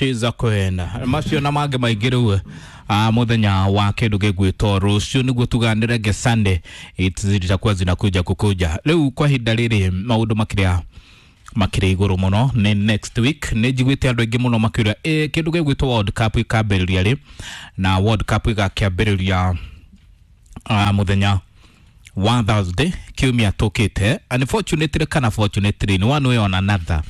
She's a queen. Macio na mangĩ maingĩ rĩu muthenya wa kĩndũ gĩgwĩtwo rũciũ nĩguo tuganĩre nge Sunday zitakuwa zinakuja kukuja. Rĩu kwa ihinda rĩrĩ maũndũ makĩrĩa makĩrĩ igũrũ mũno nĩ next week. Nĩ njiguĩte andũ aingĩ mũno makĩũria kĩndũ gĩgwĩtwo World Cup ĩkambĩrĩria rĩ, na World Cup ĩgakĩambĩrĩria mũthenya wa Thursday kiumia tũkĩte. Unfortunately kana fortunately in one way or another,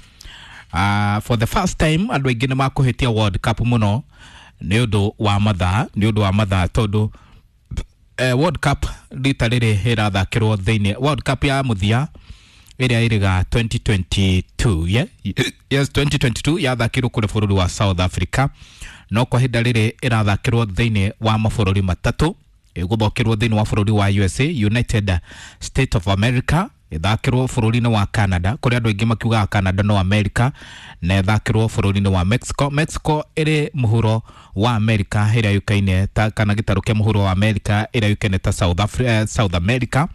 for the first time andũ aingĩ nĩ makũhĩtia World Cup mũno nĩ ũndũ wa mathaa, nĩ ũndũ wa mathaa tondũ World Cup rita rĩrĩ ĩrathakĩrwo thĩinĩ World Cup ya mũthia ĩrĩa ĩrĩga 2022, yeah? Yes, 2022 yathakĩrwo kũrĩ bũrũri wa South Africa, no kwa ihinda rĩrĩ ĩrathakĩrwo thĩinĩ wa mabũrũri matatũ. Ĩgũthokĩrwo thĩinĩ wa bũrũri wa USA, United States of America, ĩthakĩrwo bũrũri-inĩ wa Canada kũrĩa andũ aingĩ makiugaga Canada no America, na ĩthakĩrwo bũrũri-inĩ wa Mexico. Mexico ĩrĩ mũhuro wa America ĩrĩa yũkaine ta kana gĩtarũ kĩa mũhuro wa America ĩrĩa yũkaine ta South Africa, South America.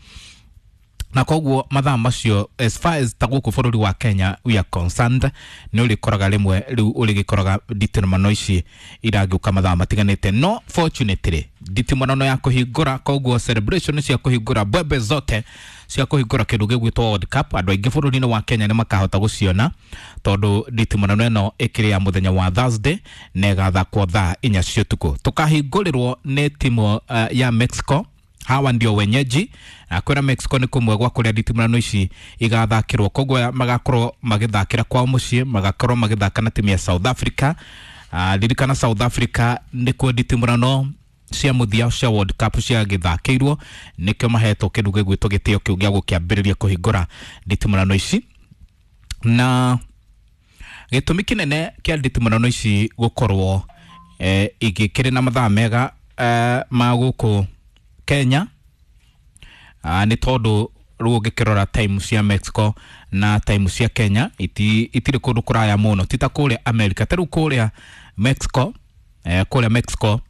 Na koguo mathaa macio as far as ta gũkũ bũrũri wa Kenya we are concerned, nĩ ũrĩkoraga rĩmwe rĩu ũrĩgĩkoraga nditimũrano ici iragĩũka mathaa matiganĩte. No fortunately nditimũrano ya kũhingũra, koguo celebration cia kũhingũra, mbwembe zote cia kũhingũra kĩndũ gĩgwĩtwo World Cup, andũ aingĩ bũrũri-inĩ wa Kenya nĩ makahota gũciona tondũ nditimũrano ĩno ĩkĩrĩ ya mũthenya wa Thursday na ĩgathakwo thaa 4 cia ũtukũ. Tũkahingũrĩrwo nĩ timu ya Mexico. Hawa ndio wenyeji. Kwĩra Mexico nĩ kũmwe gwa kũrĩa nditimũrano ici igathakĩrwo, koguo magakorwo magĩthakĩra kwao mũciĩ, magakorwo magĩthaka na timu ya South Africa. Ririkana South Africa nĩkuo nditimũrano cia mũthia cia World Cup ciagĩthakĩirwo, nĩkĩo mahetwo kĩndũ gĩgwĩtwo gĩtĩo kĩu gĩa gũkĩambĩrĩria kũhingũra nditimũrano ici. Na gĩtũmi kĩnene kĩa nditimũrano ici gũkorwo igĩkĩrĩ na mathaa mega ma gũkũ Kenya nĩ tondũ rĩu ũngĩkĩrora time cia Mexico na time cia Kenya itirĩ kũndũ kũraya mũno, ti ta kũrĩa America. Ta rĩu kũrĩa Mexico, kũrĩa Mexico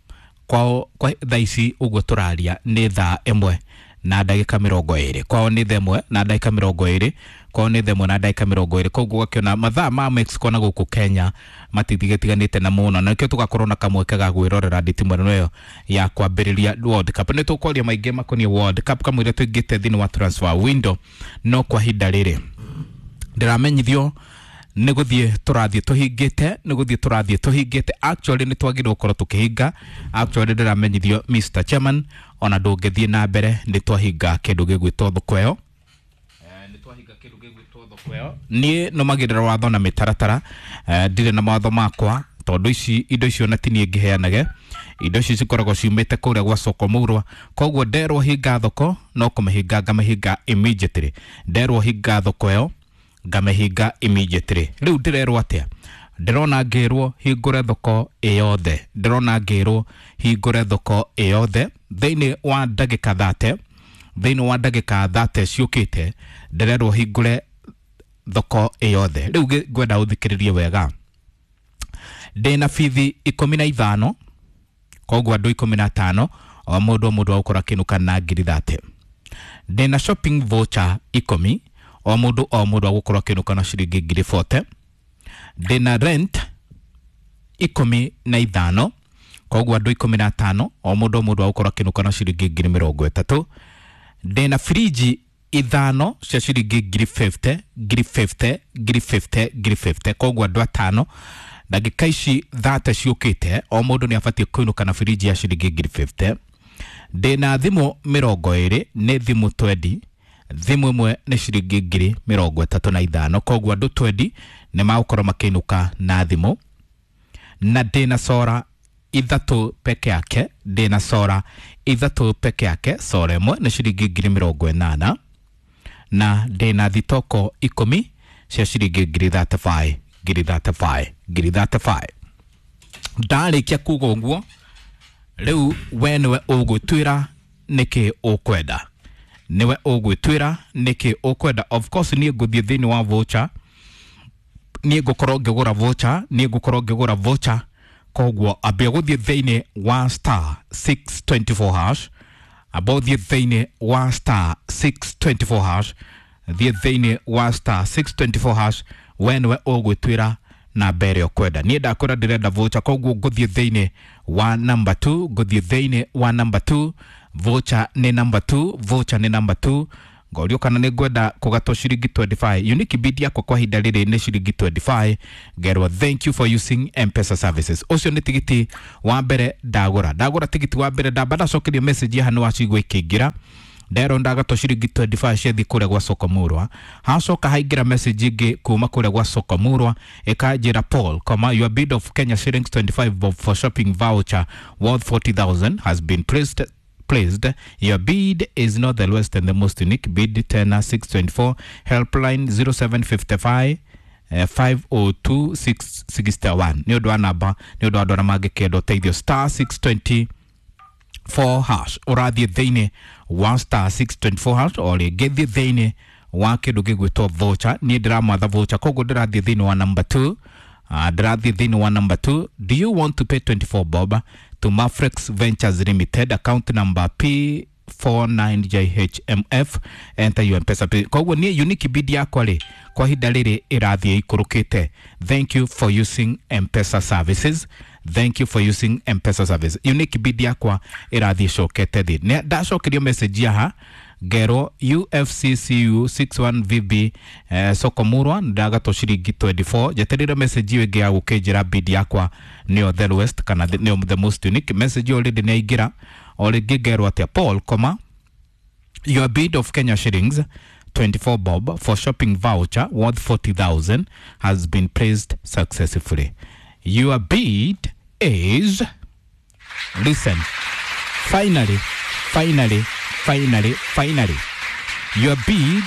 kwao kwa thaa ici ũguo tũraria nĩ thaa 1:20, kwao nĩ thaa 1:20, kwao nĩ thaa 1:20. Koguo ũgakĩona mathaa ma Mexico na gũkũ Kenya matigitiganĩte na mũno, na nĩkĩo tũgakorwo na kamweke ga gwĩrorera nditimũrano ĩyo ya kwambĩrĩria World Cup. Nĩ tũkwaria maingĩ makoniĩ World Cup kamũira tũingĩte thĩinĩ wa transfer window, no kwa ihinda rĩrĩ ndĩramenyithio nĩ gũthiĩ tũrathiĩ tũhingĩte, nĩ gũthiĩ tũrathiĩ tũhingĩte. Actually nĩ twagĩrĩirwo gũkorwo tũkĩhinga. Actually ndĩramenyithio Mr Chairman, ona ndũngĩthiĩ na mbere, nĩ twahinga kĩndũ gĩgwĩtwo thoko ĩyo. Nĩ twahinga kĩndũ gĩgwĩtwo thoko ĩyo. Niĩ nũmagĩrĩra watho na mĩtaratara, ndirĩ na mawatho makwa tondũ ici indo icio na ti niĩ ngĩheanage. Indo ici cikoragwo ciumĩte kũrĩa gwa soko mũrwa, koguo nderwo hinga thoko no kũmĩhinga ngamĩhinga immediately, nderwo hinga thoko ĩyo ngamĩhinga immediately. Rĩu ndĩrerwo atĩa? Ndĩrona ngĩrwo hingũre thoko ĩyothe, ndĩrona ngĩrwo hingũre thoko ĩyothe thĩinĩ wa ndagĩka 30, thĩinĩ wa ndagĩka 30 ciũkĩte ndĩrerwo hingũre thoko ĩyothe. Rĩu ngwenda ũthikĩrĩrie wega. Ndĩna bithi 15, koguo andũ 15, o mũndũ o mũndũ agũkorwo akĩinũka na ngiri 30. Ndĩna shopping voucher 10, o mũndũ o mũndũ agũkorwo akĩinũka na ciringi ngiri 40. Ndĩna rent 15, koguo andũ 15, o mũndũ o mũndũ agũkorwo akĩinũka na ciringi ngiri 30. Ndĩna friji 5 cia ciringi ngiri 50, ngiri 50, ngiri 50, ngiri 50, koguo andũ 5 ndagĩka ici 30 ciũkĩte o mũndũ nĩ abatiĩ kũinũka na friji ya ciringi ngiri 50. Ndĩna thimũ 20, nĩ thimũ 20, thimũ ĩmwe nĩ ciringi ngiri 35, koguo andũ 20 nĩ magũkorwo makĩinũka na thimũ. Na ndĩna sora 3 peke yake, ndĩna sora 3 peke yake, sora ĩmwe nĩ ciringi ngiri 80, na ndĩna thitoko 10 cia ciringi ngiri 35, ngiri 35, ngiri 35. Ndarĩkia kuga ũguo, rĩu we nĩwe ũgwĩtuĩra nĩkĩ ũkwenda, nĩwe ũgwĩtuĩra nĩkĩ ũkwenda. Of course niĩ ngũthiĩ thĩinĩ wa voucher, niĩ ngũkorwo ngĩgũra voucher, niĩ ngũkorwo ngĩgũra voucher, koguo ambia gũthiĩ thĩinĩ wa star 624 hash, amba ũthiĩ thĩinĩ wa star 624 hash, thiĩ thĩinĩ wa star 624 hash, we nĩwe ũgwĩtuĩra na mbere ũkwenda. Niĩ ndakwĩra ndĩrenda voucher, koguo ngũthiĩ thĩinĩ wa number 2, ngũthiĩ thĩinĩ wa number 2. Voucher nĩ number 2, voucher nĩ number 2. Ngorio kana nĩ ngwenda kũgatwo ciringi 25. Unique bid yakwa kwa ihinda rĩrĩ nĩ ciringi 25. Ngerwo thank you for using M-Pesa services. Ũcio nĩ tigiti wa mbere ndagũra. Ndagũra tigiti wa mbere, ndamba ndacokerio message haha nĩ wacigua ikĩingĩra. Ndero ndagatwo ciringi 25 ciathiĩ kũrĩa gwa Soko Murwa. Hacoka haingĩra message ĩngĩ kuma kũrĩa gwa Soko Murwa ĩkanjĩra Paul, comma, your bid of Kenya shillings 25 bob for shopping voucher worth 40,000 has been placed. Your bid is not the lowest and the most unique bid. 10 624 helpline 0755 502 661. Nĩ ũndũ wa namba, nĩ ũndũ wa andũ arĩa mangĩkenda ũteithio, star 624 hash. Ũrathiĩ thĩinĩ wa star 624 hash, o rĩngĩ thiĩ thĩinĩ wa kĩndũ gĩgwĩtwo voucher. Niĩ ndĩramatha voucher, koguo ndĩrathiĩ thĩinĩ wa number 2. Ndĩrathiĩ thĩinĩ wa number 2. Do you want to pay 24 bob to Mafrex Ventures Limited, account number P49JHMF, enter your M-Pesa pin. Koguo niĩ unique bid yakwa rĩ kwa ihinda rĩrĩ ĩrathiĩ ikũrũkĩte. Thank you for using M-Pesa services. Thank you for using M-Pesa service. Unique bid yakwa ĩrathiĩ ĩcokete thĩ. Nĩ ndacokerio message haha ngerwo UFCCU 61VB Soko Murwa ndagatwo ciringi 24. Njeterire message ĩyo ĩngĩ ya gũkĩnjĩra bid yakwa nĩyo the lowest kana nĩyo the most unique. Message ĩyo already nĩ yaingĩra. O rĩngĩ ngerwo atĩa Paul, comma, your bid of Kenya shillings 24 bob for shopping voucher worth 40,000 has been placed successfully. Your bid is, listen, finally, finally, finally, finally, your bid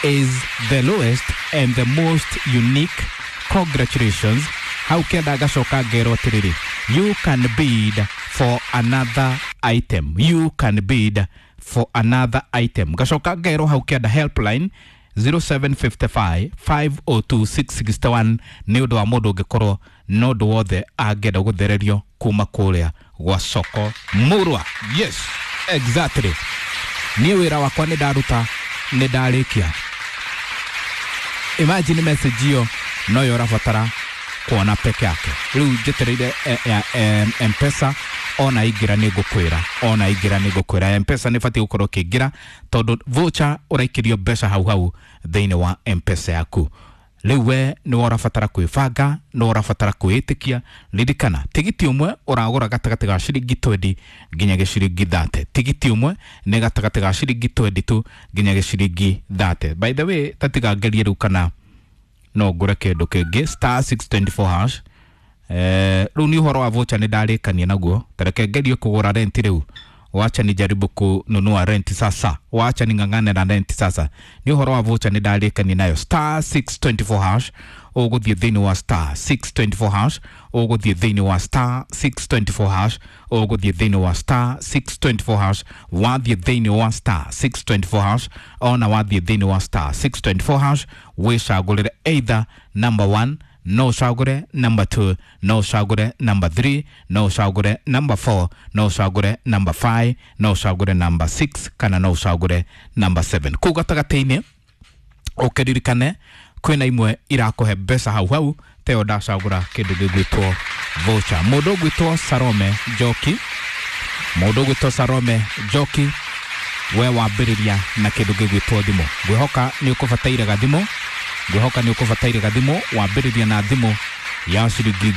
is the lowest and the most unique. Congratulations. Hau kenda gacoka ngerwo atĩrĩrĩ, you can bid for another item. You can bid for another item. Gacoka ngerwo hau kenda helpline 0755 502 661 nĩ ũndũ wa mũndũ ũngĩkorwo na ũndũ wothe angĩenda gũthererio kuma kũrĩa gwa Soko Murwa. Yes, exactly. Niĩ wĩra wakwa nĩ ndaruta, nĩ ndarĩkia. Imagine message ĩyo noyo ũrabatara kuona peke yake. Rĩu njetereire M-Pesa ona ingĩra nĩ ngũkwĩra, ona ingĩra nĩ ngũkwĩra. M-Pesa nĩ batiĩ gũkorwo ũkĩingĩra tondũ voucher ũraikĩrio mbeca hau hau thĩinĩ wa M-Pesa yaku. Rĩu we nĩ ũrabatara kwĩbanga, nĩ ũrabatara kwĩĩtĩkia. Ririkana tigiti ũmwe ũragũra gatagatĩ ga ciringi 20 nginya gĩciringi 30. Tigiti ũmwe nĩ gatagatĩ ga ciringi 22 nginya gĩciringi 30. By the way, tatiga ngerie rĩu kana no ngũre kĩndũ kĩngĩ star 624 hash. Rĩu nĩ ũhoro wa voucher nĩ ndarĩkania naguo. Tareke ngerie kũgũra rent rĩu. Wacha nijaribu kununua rent sasa. Wacha ning'ang'ane na rent sasa. Ni ũhoro wa voucher nĩ ndarĩkania nayo. Star 624 hash. Ũgũthiĩ thĩinĩ wa star 624 hash. Ũgũthiĩ thĩinĩ wa star 624 hash. Ũgũthiĩ thĩinĩ wa star 624 hash. Wathiĩ thĩinĩ wa star 624 hash. Ona wathiĩ thĩinĩ wa star 624 hash, wĩcagũrĩre either number 1, no ũcagũre number 2, no ũcagũre number 3, no ũcagũre number 4, no ũcagũre number 5, no ũcagũre number 6 kana no ũcagũre number 7. Kũu gatagatĩ-inĩ ũkĩririkane kwĩna imwe irakũhe mbeca hau hau teo ndacagũra kĩndũ gĩgwĩtwo voucher. Mũndũ ũgwĩtwo Salome Njoki, mũndũ ũgwĩtwo Salome Njoki, we wambĩrĩria na kĩndũ gĩgwĩtwo thimũ. Ngwĩhoka nĩ ũkũbataire gathimũ, ngwĩhoka nĩ ũkũbataire gathimũ. Wambĩrĩria na thimũ ya ciringi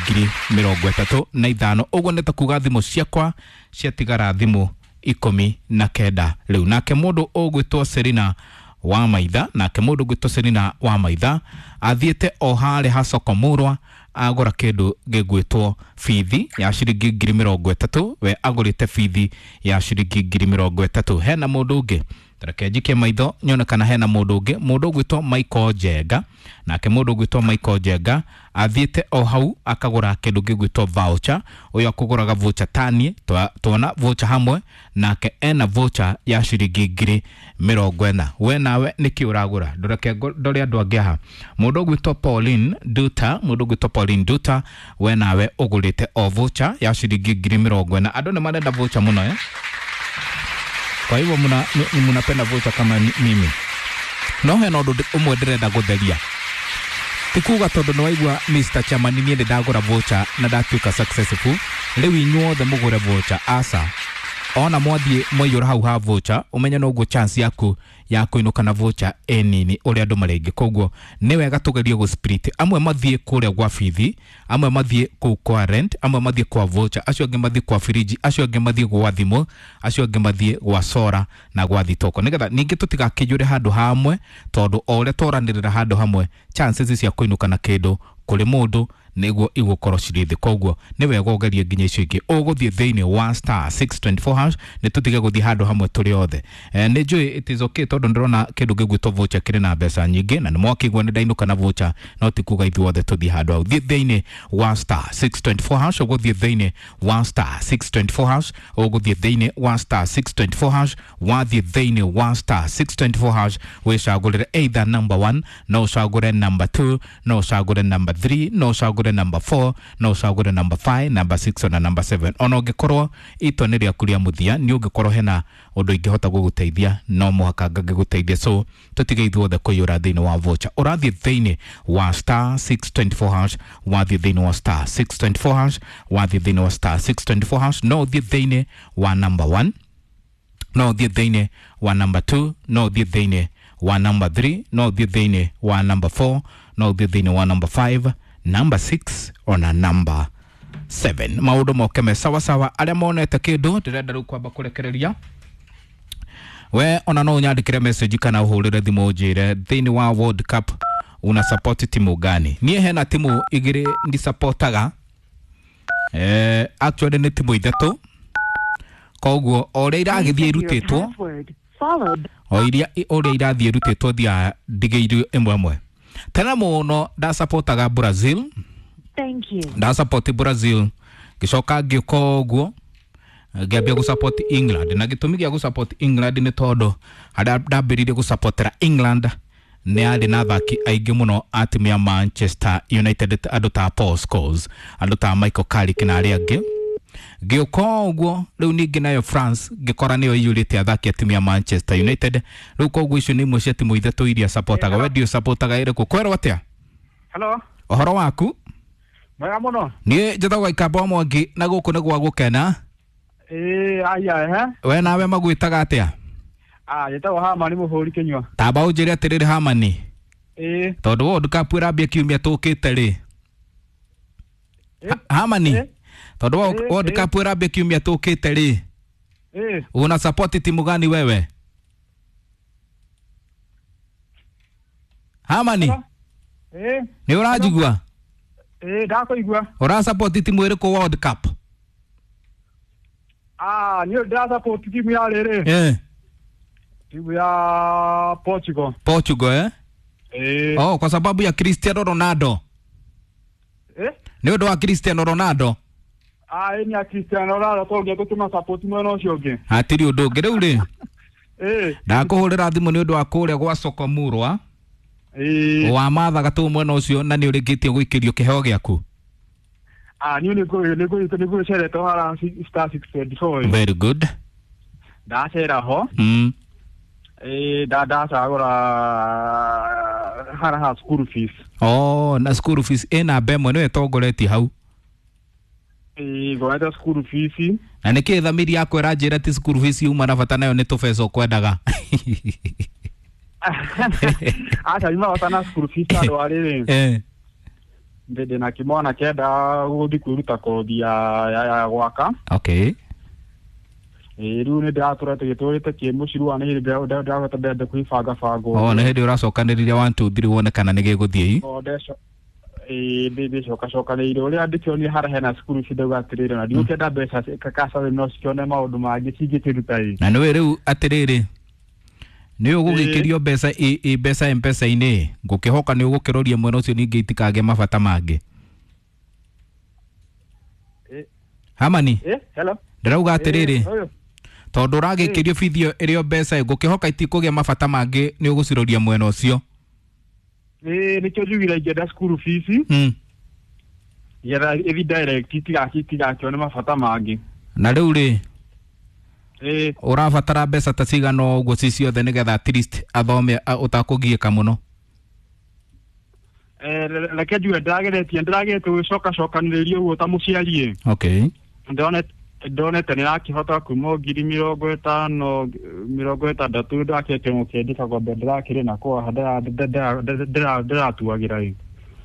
35,000. Ũguo nĩ ta kuga thimũ ciakwa ciatigara thimũ 19 rĩu. Nake mũndũ ũgwĩtwo Serena wa Maitha, nake mũndũ ũgwĩtwo Serena wa Maitha athiĩte o harĩa ha Soko Murwa agũra kĩndũ gĩgwĩtwo bithi ya ciringi 30,000. We agũrĩte bithi ya ciringi 30,000. Hena mũndũ ũngĩ, reke njikie maitho nyone kana hena mũndũ ũngĩ. Mũndũ ũgwĩtwo Michael Njenga, nake mũndũ ũgwĩtwo Michael Njenga athiĩte o hau akagũra kĩndũ gĩgwĩtwo voucher. Ũyũ akũgũraga voucher tanie, tuona voucher hamwe nake ena voucher ya ciringi 40,000. We nawe nĩkĩ ũragũra? Ndoreke ndore andũ angĩ haha. Mũndũ ũgwĩtwo Pauline Duta, mũndũ ũgwĩtwo Pauline Duta, we nawe ũgũrĩte o voucher ya ciringi 40,000. Andũ nĩ marenda voucher mũno eh? Kwa hivyo mnapenda voucher kama mimi. No hena ũndũ ũmwe ndĩrenda gũtheria. Ti kuga tondũ nĩ waigua Mr. Chairman niĩ nĩ ndagũra voucher na ndatuĩka successful, rĩu inyuothe mũgũre voucher, aca. Ona mwathiĩ mwaiyũra hau ha voucher, ũmenye noguo chance yaku ya kũinũka na voucher ĩ nini ũrĩa andũ marĩ aingĩ. Koguo nĩ wega tũgerie gũ split, amwe mathiĩ kũrĩa gwa bithi, amwe mathiĩ kũu kwa rent, amwe mathiĩ kwa voucher, acio angĩ mathiĩ kwa firiji, acio angĩ mathiĩ gwa thimũ, acio angĩ mathiĩ gwa sora na gwa thitoko, nĩgetha ningĩ tũtigakĩiyũre handũ hamwe, tondũ o ũrĩa tworanĩrĩra handũ hamwe chances cia kũinũka na kĩndũ kũrĩ mũndũ nĩguo igũkorwo cirĩ thĩ. Koguo nĩ wega ũgerie nginya icio ingĩ. Ũgũthiĩ thĩinĩ wa star 624 hash, nĩ tũtige gũthiĩ handũ hamwe tũrĩ othe. Nĩ njũĩ it is okay, tondũ ndĩrona kĩndũ gĩgwĩtwo voucher kĩrĩ na mbeca nyingĩ, na nĩ mwakĩigua nĩ ndainũka na voucher, no ti kuga ithuothe tũthiĩ handũ hau. Thiĩ thĩinĩ wa star 624 hash, ũgũthiĩ thĩinĩ wa star 624 hash, ũgũthiĩ thĩinĩ wa star 624 hash, wathiĩ thĩinĩ wa star 624 hash wĩcagũrĩre either number 1, no ũcagũre number 2, no ũcagũre number 3, no ũcagũre number 4, no ũcagũre number 5, number 6 ona number 7. Ona ũngĩkorwo itua nĩ rĩaku rĩa mũthia, nĩ ũngĩkorwo hena ũndũ ingĩhota gũgũteithia, no mũhaka ngangĩgũteithia. So tũtige ithuothe kũiyũra thĩinĩ wa voucher. Ũrathiĩ thĩinĩ wa star 624 hash, wathiĩ thĩinĩ wa star 624 hash, wathiĩ thĩinĩ wa star 624 hash, no ũthiĩ thĩinĩ wa number 1, no ũthiĩ thĩinĩ wa number 2, no ũthiĩ thĩinĩ wa number 3, no ũthiĩ thĩinĩ wa number 4, no ũthiĩ thĩinĩ wa number 5, number 6 ona number 7. Maũndũ moke me sawa sawa. Arĩa monete kĩndũ ndĩrenda rĩu kwamba kũrekereria we, ona no ũnyandĩkĩre message kana ũhũrĩre thimũ ũnjĩre thĩinĩ wa World Cup una support timu gani. Niĩ hena timu igĩrĩ ndisupportaga, actually nĩ timu ithatũ, koguo o ũrĩa iragĩthiĩ irutĩtwo, o iria ũrĩa irathiĩ irutĩtwo thiaga ndigĩirio ĩmwe ĩmwe. Tena mũno ndasapotaga Brazil. Thank you. Ndasupport Brazil, ngĩcoka ngĩũka ũguo ngĩambia gũsupport England, na gĩtũmi gĩa gũsupport England nĩ tondũ harĩa ndambĩrĩirie gũsupportera England nĩ yarĩ na athaki aingĩ mũno a timu ya Manchester United, andũ ta Paul Scholes, andũ ta Michael Carrick na arĩa angĩ. Ngĩũka ũguo rĩu ningĩ nayo France ngĩkora nĩyo iyũrĩte athaki a timu ya Manchester United. Rĩu koguo icio nĩ imwe cia timu ithatũ iria supportaga. We ndiũ supportaga ĩrĩkũ? Kwerwo atĩa? Hello. Ũhoro waku? Mwega mũno. Niĩ njĩtagwo Ikamba wa Mwangi na gũkũ nĩ gwa gũkena. Ĩĩ, aya ehe. We nawe magwĩtaga atĩa? Ah, njĩtagwo Hamani Mũhũri Kĩnyua. Tamba ũnjĩre atĩrĩrĩ Hamani. Ĩĩ. Tondũ World Cup ĩrambia kiumia tũkĩte rĩ. Hamani. Tondũ World Cup ĩrambia kiumia tũkĩte rĩ. Ĩĩ. Una support timu gani wewe? Hamani. Ĩĩ. Nĩ ũranjigua? Ĩĩ, ndakũigua. Ũra support timu ĩrĩkũ World Cup? Ah, niĩ ndĩra support timu ya rĩrĩ. Eh. Timu ya Portugal. Portugal, eh? Eh. Oh, kwa sababu ya Cristiano Ronaldo. Eh? Nĩ ũndũ wa Cristiano Ronaldo. Ah, ĩ nĩ ya Cristiano Ronaldo tondũ tũtũma support mwena ũcio ũngĩ. Hatirĩ ũndũ ũngĩ rĩu rĩ. Eh. Ndakũhũrĩra thimũ nĩ ũndũ wa kũrĩa gwa soko Murwa. Ĩĩ. Wa mathaga tũ mwena ũcio na nĩ ũrĩkĩtie gũikĩrio kĩheo gĩaku. Ah, niĩ nĩ ngũcerete hara star 624. Very good. Ndacera ho. Ĩĩ, ndacagũra hara ha school fees. Oh, na school fees ĩna namba ĩmwe nĩyo ĩtongoretie hau. Ĩĩ, ngorete school fees. Na nĩkĩ thamiri yakwa ĩranjĩra ti school fees yuma na bata nayo nĩ tũbeca ũkwendaga? Aca nyuma bata na school fees tondũ wa rĩrĩ. Eh. Ndĩ na kĩmwana kĩenda gũthiĩ kwĩruta kothi ya gwaka. Okay. Ĩĩ, rĩu nĩ ndĩratũra tũgĩtũrĩte kĩ mũciĩ rĩu nĩ ndĩrahota ndĩrenda kwĩbanga banga. Oh, nĩ hĩndĩ ũracokanĩrĩria 1 2 3 wone kana nĩ gĩgũthiĩ. Ĩĩ, ndĩcokacokanĩire ũrĩa ndĩkĩonire harĩa hena cukuru ci ndauga atĩrĩrĩ, na ndigũkĩenda mbeca kakaca no cikĩone maũndũ mangĩ cingĩkĩruta ĩ. Na nĩwe rĩu atĩrĩrĩ, nĩ ũgũgĩkĩrio mbeca ĩ mbeca M-Pesa-inĩ, ngũkĩhoka nĩ ũgũkĩroria mwena ũcio ningĩ itikagĩe mabata mangĩ. Hamani. Hello. Ndĩrauga atĩrĩrĩ, tondũ ũragĩkĩrio bithi ĩyo ĩrĩ o mbeca ĩ, ngũkĩhoka itikũgĩa mabata mangĩ nĩ ũgũciroria mwena ũcio. Ĩĩ, nĩkĩo njugire ingĩenda school fees. Getha ĩthiĩ direct itigakĩone mabata mangĩ. Na rĩu rĩ, Ĩĩ. Ũrabatara mbeca ta cigana ũguo ci ciothe nĩgetha at least athome ũtakũgiĩka mũno? Reke njuge ndĩrageretie gwĩcokacokanĩrĩria ũguo ta mũciari. Okay. Ndonete nĩrakĩhota kuma 50,000 60,000 ndakĩte mũkĩendia kagombe ndĩrakĩrĩ nako haha ndĩratuagĩra ĩ.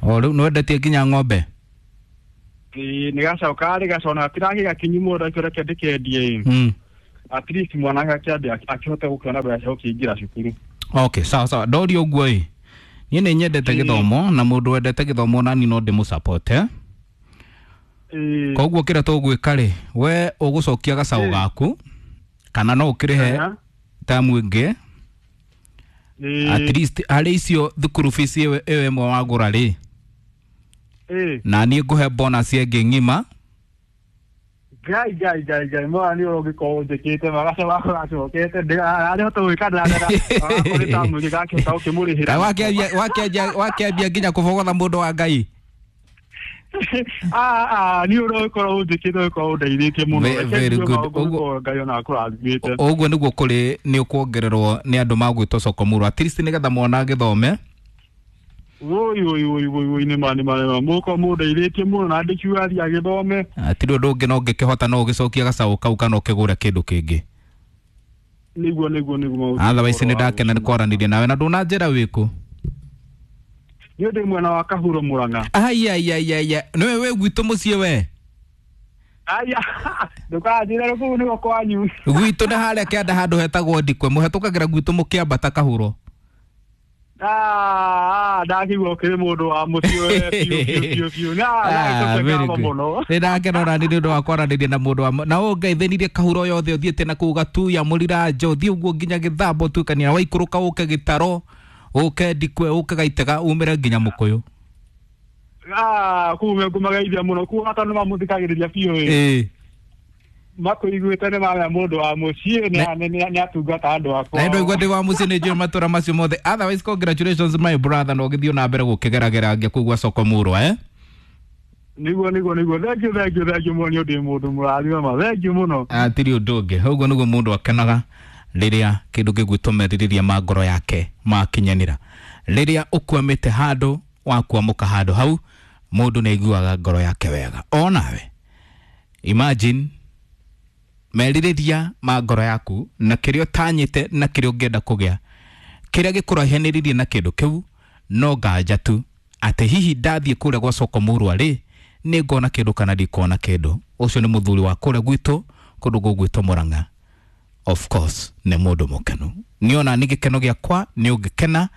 O rĩu nĩwendetie nginya ng'ombe? Nĩ gacaũ karĩ gacaũ na gatirakĩ gakinyu mũno ndakĩo reke ndĩkendie ĩ. At least mwanake akĩambe akĩhote gũkĩona mbeca cia gũkĩingĩra cukuru. Okay, sawa sawa. Ndorio ũguo ĩ, niĩ nĩ nyendete gĩthomo na mũndũ wendete gĩthomo nani no ndĩmũ-support eh? Koguo kĩrĩa tũgwĩka rĩ, we ũgũcokia gacaũ gaku kana no ũkĩrĩhe tamu ĩngĩ, at least harĩ icio thukuru fees ĩyo ĩmwe wagũra rĩ, na niĩ ngũhe bonus ĩngĩ ng'ima. Ngai ngai ngai ngai mwana nĩ ũrũngĩkorwo ũnjĩkĩte magaca wakwa gacokete ndarahota gwĩka ndĩrarĩ tamu ĩngĩ gakĩhota gũkĩmũrĩhĩra. Wakĩambia nginya kũbogotha mũndũ wa Ngai. Nĩ ũrũgĩkorwo ũnjĩkĩte ũgĩkorwo ũndeithĩtie mũno. Very good. Ngai ona akũrathimĩte. Ũguo nĩguo kũrĩ nĩ ũkuongererwo nĩ andũ magwĩtwo Sokomurwa, at least nĩgetha mwana agĩthome. Woi woi woi woi woi nĩ ma nĩ ma nĩ ma mũkorwo mũndeithĩtie mũno na ndĩkiuga athiĩ agĩthome. Hatirĩ ũndũ ũngĩ no ngĩkĩhota no ũgĩcokia gacaũ kau kana ũkĩgũre kĩndũ kĩngĩ. Nĩguo nĩguo nĩguo. Otherwise nĩ ndakena nĩ kwaranĩria nawe. Na ndũnanjĩra wĩkũ? Niĩ ndĩ mwena wa Kahuro Murang'a. Aiaiaiaia, nĩwe wĩ gwitũ mũciĩ we? Aya, ndũkanjĩre kũu nĩgo kwanyu. Gwitũ nĩ harĩa kĩanda handũ hetagwo Ndikwe, mũhetũkagĩra gwitũ mũkĩambata Kahuro. Ndakĩigua ũkĩrĩ mũndũ wa mũciĩ we biũ biũ biũ biũ. Na mũno. Nĩ ndakena ona nĩ ũndũ wa kwaranĩria na mũndũ wa na ũngeithĩnirie Kahuro yothe ũthiĩte na kũu Gatuya Mũriranjo ũthiĩ ũguo nginya Gĩthambo ũtuĩkania waikũrũka ũke Gĩtaro ũke Ndikwe ũke Gaitega umĩre nginya Mũkũyũ. Kũu ngũmageithia mũno kũu hata nĩ mamũthikagĩrĩria biũ ĩ. Makũiguĩte nĩ mamenya mũndũ wa mũciĩ nĩ atungata andũ akwa. Na ndwaigua ndĩ wa mũciĩ nĩ njũĩ matũra macio mothe. Otherwise congratulations my brother, na ũgĩthiĩ na mbere gũkĩgeragera ngia kũu gwa Sokomurwa eh? Nĩguo nĩguo nĩguo. Thank you thank you thank you mũno, nĩ ũndũ mũndũ mũrathime ma. Thank you mũno. Hatirĩ ũndũ ũngĩ. Ũguo nĩguo mũndũ akenaga rĩrĩa kĩndũ gĩgwĩtwo merirĩria ma ngoro yake makinyanĩra. Rĩrĩa ũkwamĩte handũ wakwamũka handũ hau mũndũ nĩ aiguaga ngoro yake wega. Onawe imagine merirĩria ma ngoro yaku na kĩrĩa ũtanyĩte na kĩrĩa ũngĩenda kũgĩa, kĩrĩa gĩkũraihanĩrĩirie na kĩndũ kĩu no nganja tu atĩ hihi ndathiĩ kũrĩa gwa Sokomurwa rĩ nĩ ngona kĩndũ kana ndikuona kĩndũ. Ũcio nĩ mũthuri wa kũrĩa gwitũ kũndũ gũgwĩtwo Murang'a. Of course nĩ mũndũ mũkenu. Nĩ ona nĩ gĩkeno gĩakwa nĩ ũngĩkena,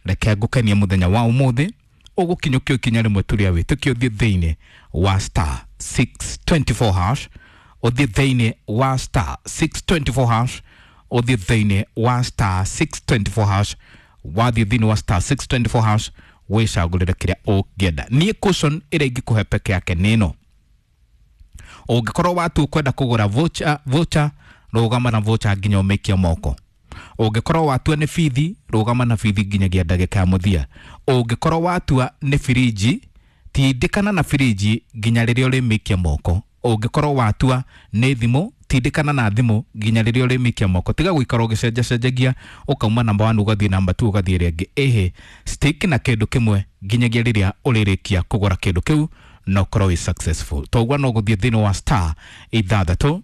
reke ngũkenie mũthenya wa ũmũthĩ ũgũkinyũkio ikinya rĩmwe tu rĩa wĩtĩkio ũthiĩ thĩinĩ wa star 624 hash, ũthiĩ thĩinĩ wa star 624 hash, ũthiĩ thĩinĩ wa star 624 hash, wathiĩ thĩinĩ wa star 624 hash wĩcagũrĩre kĩrĩa ũngĩenda. Niĩ caution ĩrĩa ingĩkũhe peke yake nĩ ĩno, ũngĩkorwo watua kwenda kũgũra voucher rũgama na voucher nginya ũmĩkie moko. Ũngĩkorwo watua nĩ bithi rũgama na bithi nginyagia ndagĩka ya mũthia. Ũngĩkorwo watua nĩ firiji tindĩkana na firiji nginya rĩrĩa ũrĩmĩkia moko. Ũngĩkorwo watua nĩ thimũ tindĩkana na thimũ nginya rĩrĩa ũrĩmĩkia moko. Tiga gũikara ũgĩcenjacenjagia ũkauma namba 1 ũgathiĩ namba 2 ũgathiĩ ĩrĩa ĩngĩ. Ĩhĩ, stick na kĩndũ kĩmwe nginyagia rĩrĩa ũrĩrĩkia kũgũra kĩndũ kĩu na ũkorwo wĩ successful. Toguo no gũthiĩ thĩinĩ wa star 6 2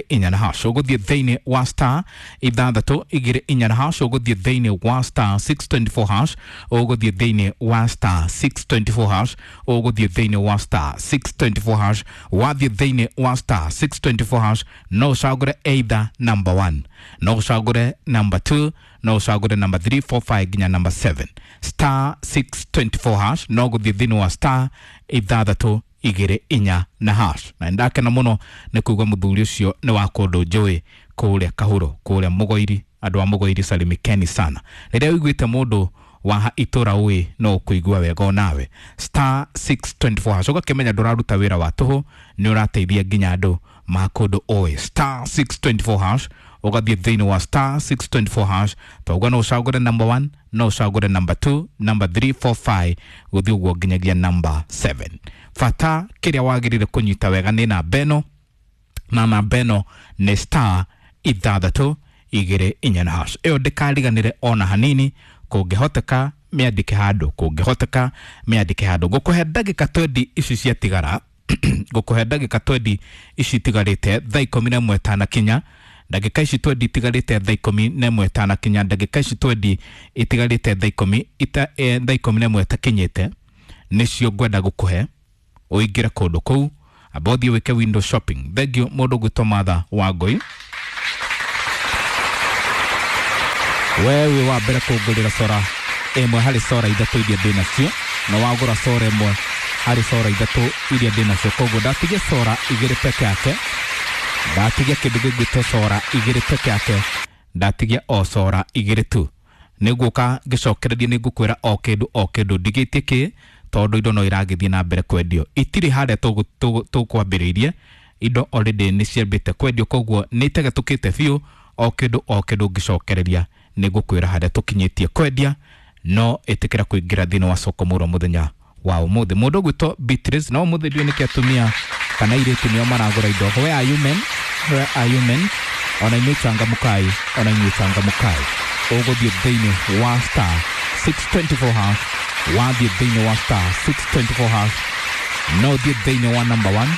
4 hash, ũgũthiĩ thĩinĩ wa star 6 2 4 hash, ũgũthiĩ thĩinĩ wa star 624 hash, ũgũthiĩ thĩinĩ wa star 624 hash, ũgũthiĩ thĩinĩ wa star 624 hash. Wathiĩ thĩinĩ wa star 624 hash no ũcagũre either number 1, no ũcagũre number 2, no ũcagũre number 3, 4, 5 nginya number 7. Star 624 hash no gũthiĩ thĩinĩ wa star 6 2 4 na hash. Na ndakena mũno nĩ kuigua mũthuri ũcio nĩ wa kũndũ njũĩ kũrĩa Kahuro, kũrĩa Mũgoiri. Andũ a Mũgoiri salimikeni sana. Rĩrĩa ũiguĩte mũndũ wa itũra ũĩ no ũkũigua wega onawe. Star 624 hash ũgakĩmenya ndũraruta wĩra wa tũhũ, nĩ ũrateithia nginya andũ ma kũndũ ũĩ. Star 624 hash ũgathiĩ thĩinĩ wa star 624 hash tauga no ũcagũre number 1, no ũcagũre number 2, number 3, 4, 5 gũthiĩ ũguo nginyagia number 7. Bata kĩrĩa wagĩrĩire kũnyita wega nĩ namba ĩno, na namba ĩno nĩ star 6 2 4 hash. Ĩyo ndĩkariganĩre ona hanini, kũngĩhoteka mĩandĩke handũ, kũngĩhoteka mĩandĩke handũ. Ngũkũhe ndagĩka 20 ici ciatigara, ngũkũhe ndagĩka 20 ici itigarĩte thaa 11 tanakinya, ndagĩka ici 20 itigarĩte thaa 11 tanakinya, ndagĩka ici 20 itigarĩte thaa 11 takinyĩte, nĩcio ngwenda gũkũhe ũingĩre kũndũ kũu, amba ũthiĩ wĩke window shopping. Thengiũ mũndũ ũgwĩtwo Martha Wangũi, we wĩ wa mbere kũngũrĩra cora ĩmwe harĩ cora ithatũ iria ndĩ nacio, na wagũra cora ĩmwe harĩ cora ithatũ iria ndĩ nacio, koguo ndatigia cora igĩrĩ peke yake, ndatigia kĩndũ gĩgwĩtwo cora igĩrĩ peke yake, ndatigia o cora igĩrĩ tu. Nĩngũka ngĩcokereria, nĩngũkwĩra o kĩndũ o kĩndũ ndigĩtie kĩ, tondũ indo no iragĩthiĩ na mbere kwendio, itirĩ harĩa tũkwambĩrĩirie, indo already nĩ ciambĩte kwendio, koguo nĩ itegetũkĩte biũ. O kĩndũ o kĩndũ ngĩcokereria nĩngũkwĩra harĩa tũkinyĩtie kwendia. No ĩtĩkĩra kũingĩra thĩinĩ wa soko mũro mũthenya wa ũmũthĩ. Mũndũ ũgwĩtwo Beatrice, no ũmũthĩ ndiũĩ nĩkĩ atumia kana airĩtu nĩo maragũra indo. Where are you men? Where are you men? Ona inyuĩ changamukai, ona inyuĩ changamukai. Ũgũthiĩ thĩinĩ wa star 624 hash, wathiĩ thĩinĩ wa star 624 hash, no ũthiĩ thĩinĩ wa number 1,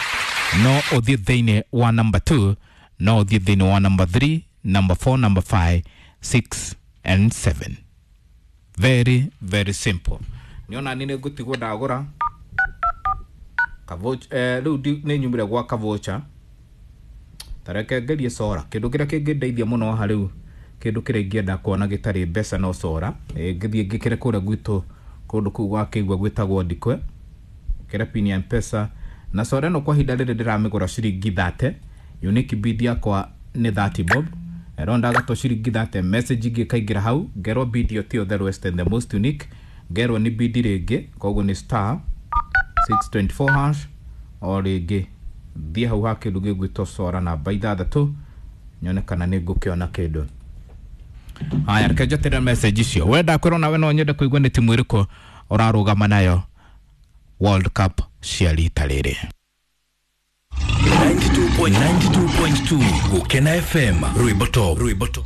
no ũthiĩ thĩinĩ wa number 2, no ũthiĩ thĩinĩ wa number 3, number 4, number 5, 6 and 7. Very very simple. Nĩona nĩ ngũtigwo ndagũra rĩu nĩ nyumire gwa kavocha, tareke ngerie cora. Kĩndũ kĩrĩa kĩngĩndeithia mũno haha rĩu, kĩndũ kĩrĩa ingĩenda kuona gĩtarĩ mbeca no cora. Ngĩthiĩ ngĩkĩre kũrĩa gwitũ kũndũ kũu gwakĩigua gwĩtagwo Ndikwe, kĩre pin ya Mpesa na cora ĩno kwa ihinda rĩrĩ ndĩramĩgũra ciringi 30. Unique bid yakwa nĩ 30 bob, ero ndagatwo ciringi 30. Message ingĩ ĩkaingĩra hau, ngerwo bid ĩyo tiyo the lowest and the most unique, ngerwo nĩ bid rĩngĩ, koguo nĩ star 624 hash o rĩngĩ, thiĩ hau ha kĩndũ gĩgwĩtwo cora namba ithathatũ, nyone kana nĩ ngũkĩona kĩndũ. Haya, reke njotere message icio. We ndakwĩrwo nawe no nyende kũigua nĩ timu ĩrĩkũ ũrarũgama nayo World Cup cia rita rĩrĩ. 92.2 Gukena FM, rwimbo top, rwimbo top.